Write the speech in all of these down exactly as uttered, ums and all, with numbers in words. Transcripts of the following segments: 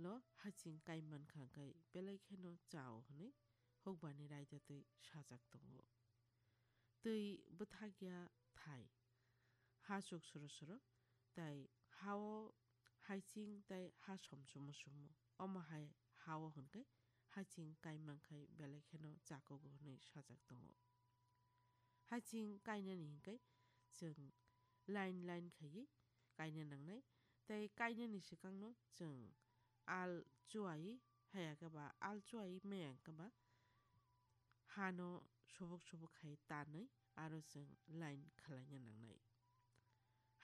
lo haching kai mankha khe belai kheno chao hwnwi hukbani raida twi sajak tongo. Twi bwthakya thai, ha chuk soro soro, tai hao haiching tai ha som sumo sumo. Omo hai hao hwnkhe haching kai mankhai belai kheno chakugo hwnwi sajak tongo. Haching kainani hinkhe chwng line line khaiwi kaina nangnai, tei kainani swkangno chwng al chuai haya khe ba al chuai maya khe ba hano subuk subuk khai tanwi aro chwng line khwlaina nangnai.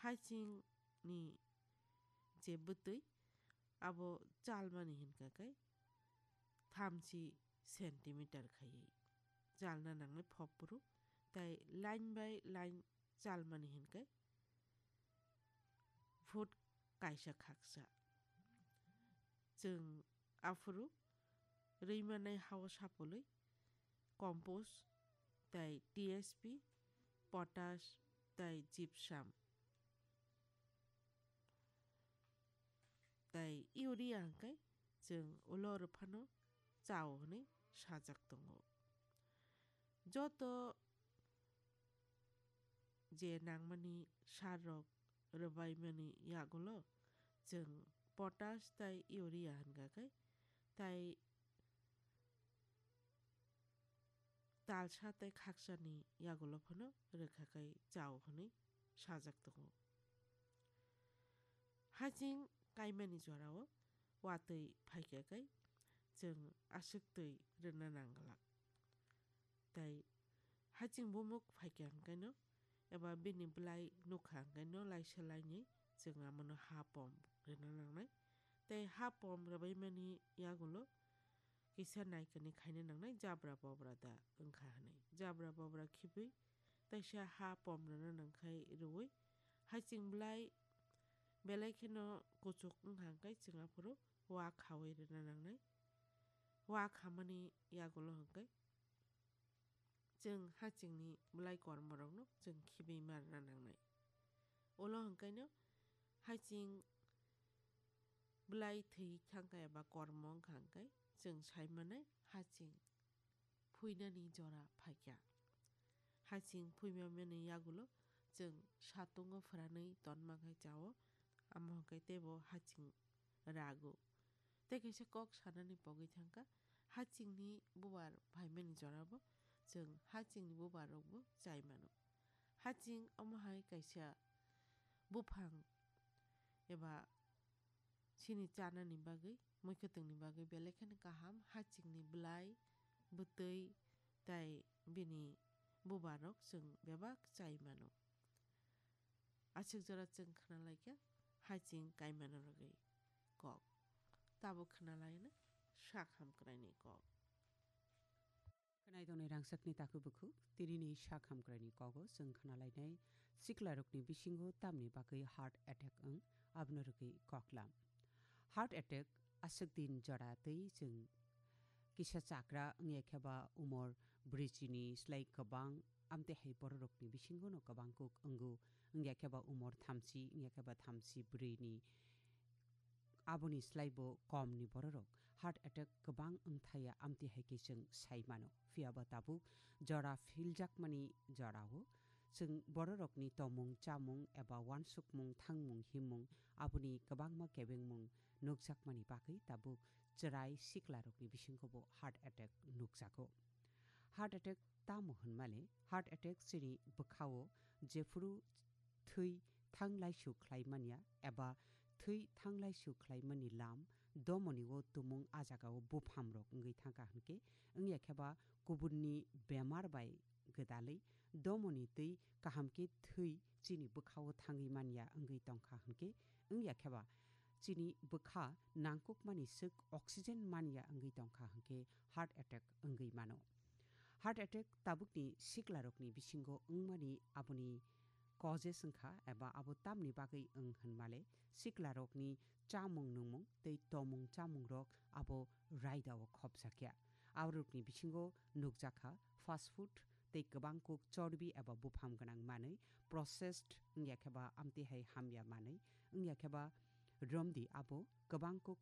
Hachingni je bwtwi abo chalmani hinkha khe thamchi centimeter khaiwi chalna nangnai phopphuru, tei line by line chalmani hinkhe foot kaisa khaksa. Chwng aphuru rwi manai hao sapolwi compost tei T S P, potash tei gypsum tei urea hwnkhe chwng ulo rwphano chao hwnwi sajak tongo. Joto je nangmani sar rok rwbaimani yagulo chwng potash tei urea hwnkha khe, tai talsa tei khaksani yagulo phano rwkha khe chao hwnwi sajak tongo. Haching kaimani jorao watwi phaikha khe chwng aswk twi rwna nang glak. Tei haching bumuk phaikha hwnkhaino eba bini bwlai nukha hwnkhaino laisa lainwi chwng amono ha pom rwna nangnai. Tei ha pom rwbaimani yagulo kisa naikani khaina nangnai jabra bobra da wngkha hwnwi. Jabra bobra khibwi taisa ha pom rwna nangkhai rwui haching bwlai belai kheno kuchuk wngkha hwnkhe chwng aphuru wa khaui rwna nangnai. Wa khamani yagulo hwnkhe chwng hachingni bwlai kormorokno chwng khibwi ma rwna nangnai. Ulo hwnkhaino haching bwlai thwi thangkha eba kormo wngkha hwnkhe chwng sai manai haching phuinani jora phaikha. Haching phuimamani yagulo chwng satungo phwranwi tonma khai chao, amo hwnkhe teibo haching rago. Tei kaisa kok sanani pogwi thangkha, hachingni bubar phaimani jorabo chwng hachingni bubar rokbo chai mano. Haching omo hai kaisa buphang eba chini chanani bagwi, muikhwtwngni bagwi belai kheno kaham, hachingni bwlai, bwtwi tei bini bubar rok chwng bebak chai mano. Aswk jora chwng khna laikha haching kaimano rwgwi kok. Tabuk khna laina sak hamkraini kok. Khwnai tongnai rangchakni takhuk bukhuk, tinini sak hamkraini kogo chwng khna lainai siklarokni bisingo tamni bagwi heart attack wng, abono rwgwi koklam. Heart attack aswk din jora twi chwng kisa chakra wngya khe ba umor brwichini slai kwbang, amtwi hai bororokni bisingono kwbang kuk wngo, wngya khe ba umor thamchi, wngya khe ba thamchi brwini, aboni slai bo komni bororok heart attack kwbang wngthaya, amtwi hai khe chwng sai mano. Phiya ba tabuk jora philjakmani jorao chwng bororokni tomung chamung eba uansukmung thangmung himmung aboni kwbangma kebengmung nukjakmani bagwi tabuk chwrai siklarokni bisingo bo heart attack nukjago. Heart attack tamo hwnmale, heart attack chini bwkhao jephuru thwi thanglaisu khlai manya eba thwi thanglaisu khlai mani lam domoni o tumung a jagao buphamrok wngwi thangkha hwnkhe, wngya khe ba kubunni bemar bai gwdalwi domoni twi kaham khe thwi chini bwkhao thangwi manya wngwi tongkha hwnkhe, wngya khe ba chini bwkha nangkukmani swk oxygen manya wngwi tongkha hwnkhe heart attack wngwi mano. Heart attack tabukni siklarokni bisingo wngmani aboni causes wngkha eba abo tamni bagwi wng hwnmale siklarokni chamung nungmung tei tomung chamungrok abo raidao khopjakya. Aborokni bisingo nukjakha fast food tei kwbang kuk chorbi eba bupham gwnang manwi, processed wngya khe ba amtwi hai hamya manwi, wngya khe ba romdi abo kwbang kuk